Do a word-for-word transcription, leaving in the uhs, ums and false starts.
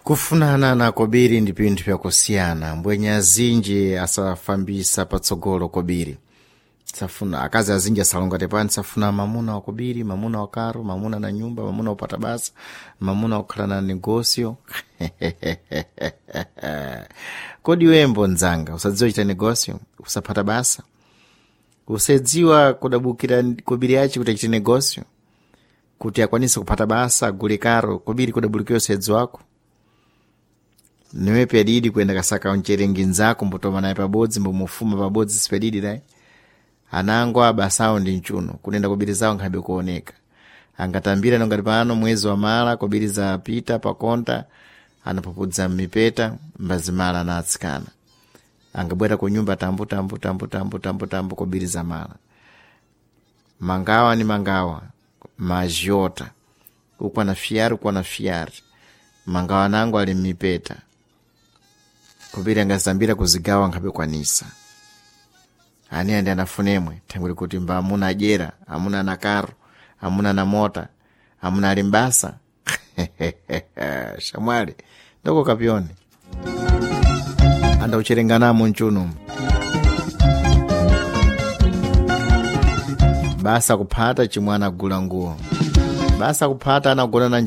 Kufunana na kobiri ndi pinthu pyakusiyana mbwenya azinji asafambisa patsogolo kobiri safuna akazi azinji asalonga tepani safuna mamuna wa kobiri mamuna wa karo mamuna na nyumba mamuna upata basa mamuna ukhala na negosio kodi wembo nzanga usadziwa chita negosio usapata basa usadziwa kudabukira kobiri yachi kuti achite negosio kuti akwanise kupata basa agule karo kobiri kudabulikira usedzi wako niwe pedidi kuenda kasaka mcherengi nzako mbotoma naye pabodzi mbomufuma pabodzi sipedidi dai anango abasawo ndi mchuno kunenda kobiri zawo nkhabe kuoneka angatambira nongati pano mwezi wa mala kobiri zapita pakonta anapupudza mmipeta mbazimala na atsikana angabwera ku nyumba tambu tambu tambu tambu tambu tambu kobiri za mala mangawa ni mangawa majiota ukwana fiyari ukwana fiyari mangawa nango ali mmipeta kobiri angazambira kuzigawa nkhabe kwanisa ani andi anafunemwe thangwi kuti mba amuna adyera amuna ana karo amuna ana mota amuna ali mbasa shamwali ndoko kapyoni andaucherenganamo mchunumu basa kuphata chimwe anagula nguwo basa kuphata anagona na